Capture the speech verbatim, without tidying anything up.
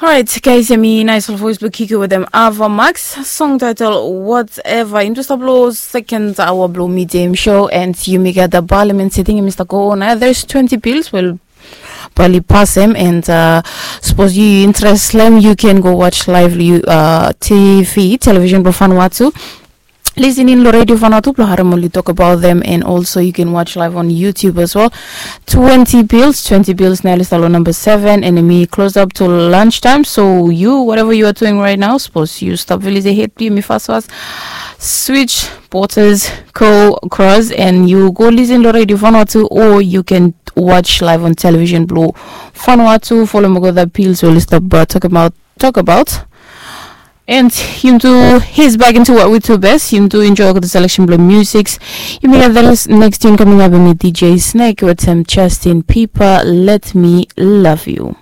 Alright, guys, yumi nais ol voice blong Kiki wetem Ava Max, song title Whatever. Yumi tu stap long second hour blong Midday Show, and yumi gat the Parliament sitting in Mr. Corona. There's twenty bills, well, bali pass him, and uh, suppose you interest them, you can go watch live uh, T V, television blong Vanuatu. Listening lo Radio Vanuatu blong harem oli talk about them, and also you can watch live on YouTube as well. Twenty bills, twenty bills nai oli stap long number seven, and yumi close up to lunch time. So you, whatever you are doing right now, suppose you stop village ahead, yumi fast fast switch porters, go cross, and you go listen to Radio Vanuatu, or you can watch live on television blong Vanuatu. Follow me go the bills we oli stap uh, talk about talk about. And yumi tu, he's back into what we do best. Yumi tu enjoy the selection blong music. Yumi gat the next tune coming up with D J Snake with some Justin Bieber, Let Me Love You.